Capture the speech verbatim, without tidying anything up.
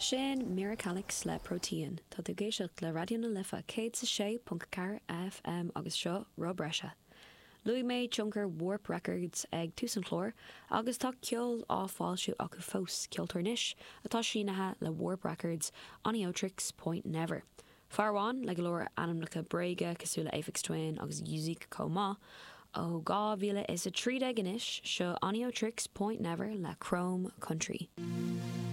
Sin Miracalix le Protean Tá tú ag éisteacht le Raidió na Life céad a sé ponc ceathair FM agus seo Rob Breise. Luaigh mé tionchar Warp Records ag tús an chláir agus tá ceol á fhoilsiú acu fós ceoltóir anois atá sínithe le Warp Records Oneohtrix Point Never. Farháin le go leor ainmneacha bréige cosúil le Aphex Twin agus Music chomh maith ó dhá mhíle is a trí déag anois seo Oneohtrix Point Never le Chrome Country.